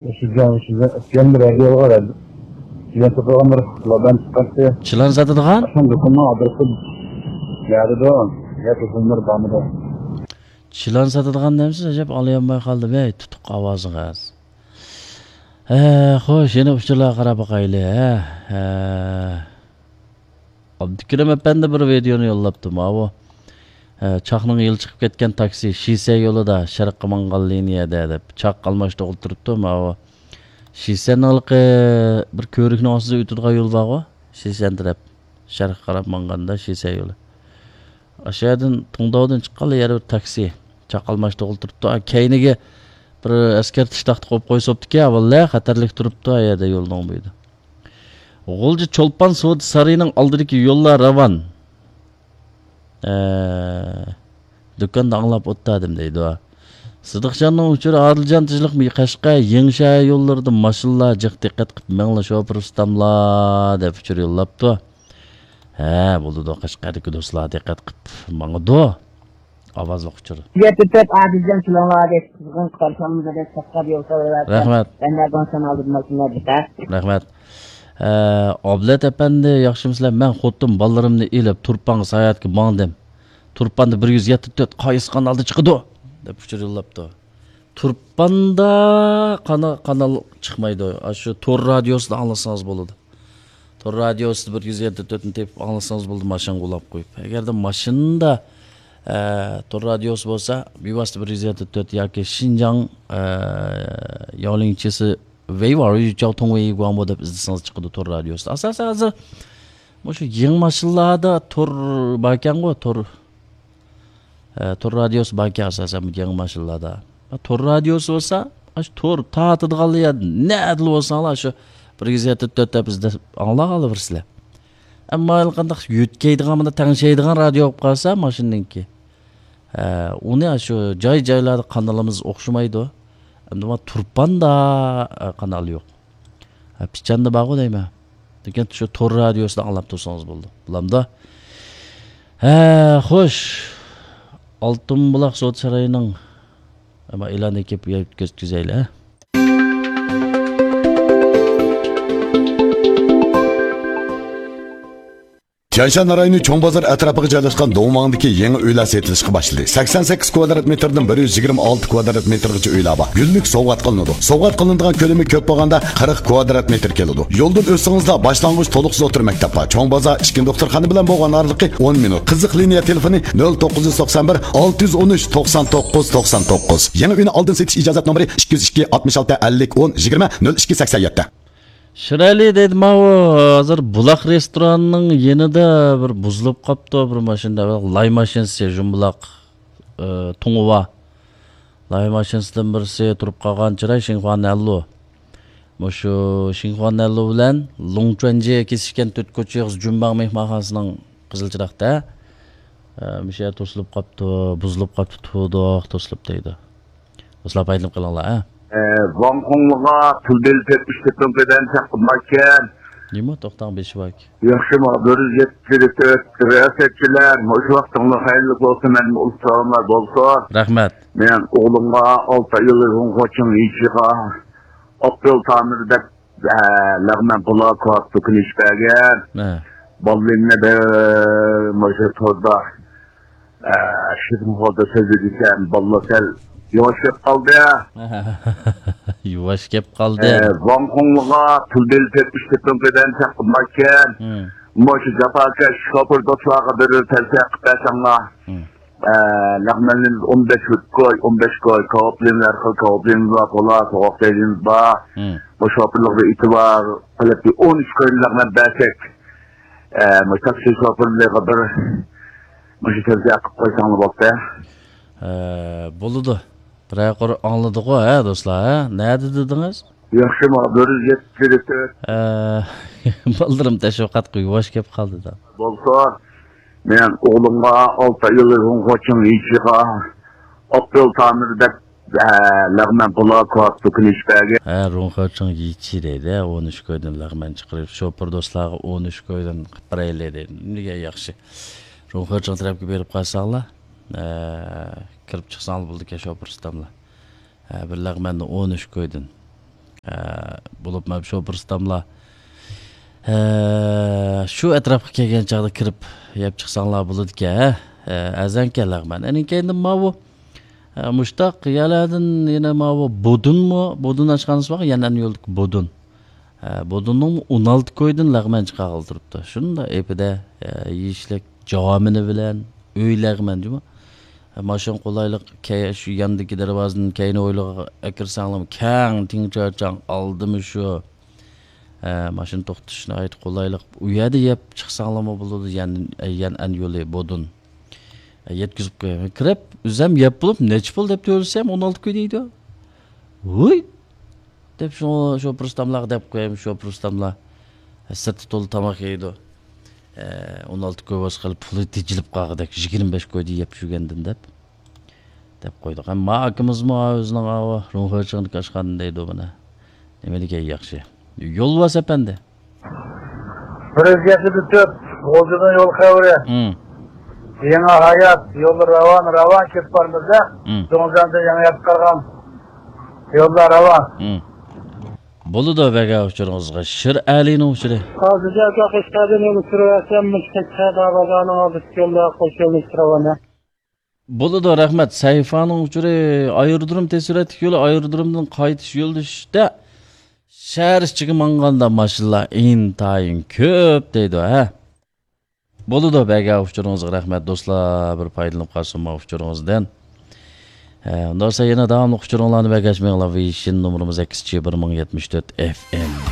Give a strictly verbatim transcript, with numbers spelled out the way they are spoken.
شىنجاڭ، شىنجاڭ ئەسكەندەر رادىيوغا رادىيو ساتىدىغان بىر لابان چىقارتتى. چىلان ساتىدىغان؟ ئاشۇ دۇكاننىڭ ئادرېسى نەدىدۇ؟ يا تېلېفون نومۇرى بارمىدۇ؟ چىلان ساتىدىغان دەمسىز؟ ئەجەب ئاڭلىيالماي قالدىم، ھەي، تۇتۇق ئاۋازىڭىز. ھە، خوش، يەنە ئۇچۇرلارغا قاراپ باقايلى، ھە، ھە. ئابدۇكېرىم ئەپەندى بىر ۋىدېئونى يوللاپتۇ، ماۋۇ. ھە، چاقنىڭ يىلى چىقىپ كەتكەن تاكسى، شىسە يولىدا، شەرققە ماڭغان لىنىيەدە دەپ، چاق ئالماشتۇرغىلى تۇرۇپتۇ، ماۋۇ. شىسەننىڭ ھېلىقى بىر كۆۋرۈكنىڭ ئاستىدا ئۆتىدىغان يول بارغۇ، شىسەن تەرەپ. شەرققە قاراپ ماڭغاندا شىسە يولى. ئاشۇ يەردىن، تۇڭداۋدىن چىققانلا يەنە بىر تاكسى. چاق ئالماشتۇرغىلى تۇرۇپتۇ. ئا، كەينىگە بىر ئەسكەرتىش تاختا قويۇپ قويساپتىكەن، ۋاللە خەتەرلىك تۇرۇپتۇ، ئا يەردە يولنىڭ بويىدا. غۇلجا چولپان سودا سارىيىنىڭ ئالدىدىكى يوللار راۋان. ئە، دۇكاندا ئاڭلاپ ئولتۇردۇم دەيدۇ. سىدىقجاننىڭ ئۇچۇرى، ئادىلجان تىنچلىقمۇ؟ قەشقەر يېڭىشەھەر يوللىرىدا ماشىنىلار جىق، دىققەت قىلىپ مېڭىڭلار شوپۇر ئۇستاملار دەپ ئۇچۇر يوللاپتۇ. ھە، بولىدۇ، قەشقەردىكى دوستلار دىققەت قىلىپ ماڭىدۇ. ئاۋازلىق ئۇچۇر. يەتتە تۆت ئادىلجان كېلىڭلار دەپ قىزغىن قارشى ئالىمىز دەپ قەشقەر يول ساۋايۋاتىدۇ. رەھمەت. بەندە بولسام ئالدىم ماشىنىلار دىققەت. رەھمەت. ئە، ئابلەت ئەپەندى، ياخشىمۇسىلەر؟ مەن خوتۇن بالىلىرىمنى ئېلىپ تۇرپانغا ساياھەتكە ماڭدىم. تۇرپاندا بىر يۈز يەتتە تۆت قايسى قانالدا چىقىدۇ؟ دەپ ئۇچۇر يوللاپتۇ. تۇرپاندا قانا-، قانال چىقمايدۇ. ئاشۇ تور رادىيوسىدا ئاڭلىسىڭىز بولىدۇ. تور رادىيوسىدا بىر يۈز يەتتە تۆتنى تېپىپ ئاڭلىسىڭىز بولىدۇ، ماشىنىغا ئۇلاپ قويۇپ. ئەگەردە ماشىنىدا، ئە، تور رادىيوسى بولسا، بىۋاسىتە بىر يۈز يەتتە تۆت ياكى شىنجاڭ، ئە، ياۋلىڭچىسى ۋېيۋا، رۇيچاۋ توڭ ۋېيگۇاڭمۇ دەپ ئىزدىسىڭىز چىقىدۇ تور رادىيوسىدا. ئاساسەن ھازىر مۇشۇ يېڭى ماشىنىلاردا تور باركەنغۇ، تور، ئە، تور رادىيوسى باركەن ئاساسەن بۇ يېڭى ماشىنىلاردا. تور رادىيوسى بولسا، ئاشۇ تور تارتىدىغانلا يەر نەدىلا بولساڭلار، شۇ بىر يۈز يەتتە تۆت دەپ ئىزدەپ ئاڭلاپ قالىۋېرىسىلەر. ئەمما ھېلىقانداق يۆتكەيدىغان، مانا تەڭشەيدىغان رادىيو بولۇپ قالسا ماشىنىنىڭكى، ھە، ئۇنى شۇ جاي-جايلاردا قانىلىمىز ئوخشىمايدۇ. ئەمدى مانا تۇرپاندا، ھە، قانال يوق. ھە، پىچاندا بارغۇ دەيمەن. لېكىن شۇ تور رادىيوسىدا ئاڭلاپ تۇرسىڭىز بولىدۇ. بولامدۇ؟ ھە، خوش. ئالتۇن بۇلاق سودا سارىيىنىڭ، ئەمما ئېلان ئېكىپ يەتكۈزەيلى، ھە. تيەنشان رايونى چوڭ بازار ئەتراپىغا جايلاشقان دۇڭۋاڭدىكى يېڭى ئۆيلەر سېتىلىشقا باشلىدى. سەكسەن سەككىز كۋادرات مېتىردىن بىر يۈز يىگىرمە ئالتە كۋادرات مېتىرغىچە ئۆيلەر بار. گۈللۈك سوۋغات قىلىنىدۇ. سوۋغات قىلىنىدىغان كۆلىمى كۆپ بولغاندا قىرىق كۋادرات مېتىر كېلىدۇ. يولدىن ئۆتسىڭىزلا باشلانغۇچ تولۇقسىز ئوتتۇرا مەكتەپ بار. چوڭ بازار ئىككىنچى دوختۇرخانا بىلەن بولغان ئارىلىقى ئون مىنۇت. قىزىق لىنىيە تېلېفونى نۆل توققۇز يۈز توقسان بىر، ئالتە يۈز ئون ئۈچ، توقسان توققۇز، توقسان توققۇز. يېڭى ئۆينى ئالدىن سېتىش ئىجازەت نومۇرى ئىككى يۈز ئىككى، ئاتمىش ئالتە، ئەللىك، ئون، يىگىرمە، نۆل ئىككى، سەكسەن يەتتە. شىرئەلى دەيدۇ، ماۋۇ ھازىر بۇلاق رېستورانىنىڭ يېنىدا بىر بۇزۇلۇپ قاپتۇ، بىر ماشىنا، لاي ماشىنىسى، جۇمبۇلاق، ئى، تۇڭۇۋا. لاي ماشىنىسىدىن بىرسى تۇرۇپ قالغان چىراي شىنخۇا نەنلۇ. مۇشۇ شىنخۇا نەنلۇ بىلەن لۇڭچۈەنجى كېسىشكەن تۆت كوچا ئېغىز جۈنباڭ مېھمانخانىسىنىڭ قىزىل چىراغدا. ئى، مۇشۇ يەر توسۇلۇپ قاپتۇ، بۇزۇلۇپ قاپتۇ، تۇدۇق، توسۇلۇپ دەيدۇ. دوستلار، پايدىلىنىپ قېلىڭلار، ھە. ئە، ۋاڭ خۇڭلىغا پۇل بېلىتىپ ئۈچ تېپىڭ بەدەن چاققان باركەن. نېمە؟ توختاڭ، بېشى باركەن. ياخشىمۇ؟ بىر يۈز يەتتە تۆت رىياسەتچىلەر، مۇشۇ ۋاقتىڭلار خەيرلىك بولسۇن، مەن ئۇلۇغ سالاملار بولسۇن. رەھمەت. مەن ئوغلۇمغا ئالتە ئايلىق ھۇڭخۇچىڭ يىچىغا ئاپرېل تامىر دەپ، ئە، لەغمەن بۇلاك دۇكىنى ئېچىپ بەرگەن. ھە. بالىلىرىمنى بىر مۇشۇ توردا ئە، شېرىن ھالدا سۆزلىدىكەن، بالىلار سەل يۇۋاش گەپ قالدى. يۇۋاش گەپ قالدى. ئە، ۋاڭ خۇڭلىغا پۇل بېلىتىپ ئۈچ تېپىڭ بەدەن چاققان باركەن. مۇشۇ جاپاكەش شوپۇر دوستلارغا بىر تەۋسىيە قىلىپ بەرسەڭلار. ئە، لەغمەنلىرىمىز ئون بەش كوي، ئون بەش كوي، كاۋاپلىرىمىز ھەر خىل كاۋاپلىرىمىز بار، قولا، سوغۇق چايلىرىمىز بار. بۇ شوپۇرلارغا ئېتىبار قىلىپ، ئون ئۈچ كوينى لەغمەن بەرسەك، ئە، مۇشۇ تاكسى شوپۇرلىرىغا بىر مۇشۇ تەۋسىيە قىلىپ قويساڭلار بولدى. ئە، بولىدۇ. بىرەر قۇر ئاڭلىدىغۇ، ھە، دوستلار، ھە؟ نەدە دېدىڭىز؟ ياخشىمۇ؟ بىر يۈز يەتتە تۆت. ئە، بالىلىرىم تەشۋىقاتقا يۇۋاش كەپ قالدى دا. بولسا، مەن ئوغلۇمغا ئالتە ئايلىق ھۇڭخۇچىڭ يىچىغا ئاپرېل تامىر دەپ، ئە، لەغمەن بۇلاك دۇكىنى ئېچىپ بەرگەن. ھە، رۇڭخېچىڭ يىچى دەيدۇ، ھە، ئون ئۈچ كويدىن لەغمەن چىقىرىپ، شوپۇر دوستلارغا ئون ئۈچ كويدىن قىلىپ بېرەيلى دەيدۇ. نېمىگە ياخشى. رۇڭخېچىڭ تەرەپكە بېرىپ قالساڭلار، ئە، كىرىپ چىقساڭلار بولىدىكەن شوپۇر ئۇستاملار. ھە، بىر لەغمەننى ئون ئۈچ كويدىن. ئە، بولۇپ مەن شوپۇر ئۇستاملار، ئە، شۇ ئەتراپقا كەلگەن چاغدا كىرىپ يەپ چىقساڭلار بولىدىكەن، ھە؟ ئە، ئەرزانكەن لەغمەن. ئەنىڭ كەينىدىن ماۋۇ، ئە، مۇشتاق يەرلەردىن يەنە ماۋۇ بودۇنمۇ؟ بودۇن ئاشخانىسى بار، يەنئەن يولدىكى بودۇن. ئە، بودۇننىڭ ئون ئالتە كويدىن لەغمەن چىقارغىلى تۇرۇپتۇ. شۇنداق ئېپىدە، ئە، يېيىشلىك جامىنى بىلەن ئۆي لەغمەن جۇمۇ. ئە، ماشىنا قولايلىق، كەي-، شۇ ياندىكى دەرۋازىدىن كەينى ھويلىغا ئەكىرسەڭلارمۇ كەڭ، تىڭچارچاڭ، ئالدىمۇ شۇ. ئە، ماشىنا توختىتىش ناھايىتى قولايلىق. ئۇ يەردە يەپ چىقساڭلارمۇ بولىدۇ، يەن-، يەنئەن يولى بودۇن. ئە، يەتكۈزۈپ قوياي. كىرىپ، ئۆزۈم يەپ بولۇپ، نەچچە پۇل دەپ تۆلىسەم، ئون ئالتە كوي دەيدۇ. ۋۇي! دەپ شۇ شوپۇر ئۇستاملارغا دەپ قويايمۇ، شوپۇر ئۇستاملار سىرتى تولا تاماق يەيدۇ. ئە، ئون ئالتە كوي بولسا خېلى پۇلى تېجىلىپ قالغۇدەك، يىگىرمە بەش كويدا يەپ چۈشۈرگەندىن دەپ، دەپ قويدۇق. ئەمما ئاكىمىزمۇ ئۆزىنىڭ ئاۋۇ روڭخېچىڭدىكى ئاشخانا دەيدۇ بۇنى. نېمە دېگەن ياخشى. يولۋاس ئەپەندى. بىر يۈز يەتتە تۆت، غۇلجىدىن يول خەۋىرى. ھىم. يېڭى ھايات، يوللار راۋان، راۋان كېتىپ بارمىز-دە. ھىم. زۇڭزەندىن يېڭى يەتكە قالغان يوللار راۋان. ھىم. بولىدۇ، بەگە ئۇچۇرىڭىزغا. شىر ئەلىنىڭ ئۇچۇرى. ھازىرچە قەشقەردىن يول سۈرۈۋەرسەم، مۇشۇ قەشقەر بازارنىڭ ئالدىدىكى يولدا قوش يولنى سۈرۈۋەرمەن. بولىدۇ، رەھمەت. سەيفانىڭ ئۇچۇرى، ئايرودروم تەسۋىراتلىق يولى، ئايرودرومدىن قايتىش يولىدا شەھەر ئىچىگە ماڭغاندا ماشىنىلار ئىنتايىن كۆپ دەيدۇ، ھە. بولىدۇ، بەگە ئۇچۇرىڭىزغا رەھمەت، دوستلار، بىر پايدىلىنىپ قالسۇن ما ئۇچۇرىڭىزدىن. ھە، ئۇنداق بولسا يەنە داۋاملىق ئۇچۇرۇڭلارنى بەگەشمەڭلار، ۋېيشىن نومۇرىمىز ئەكسىچە بىر مىڭ يەتمىش تۆت ئېف ئېم.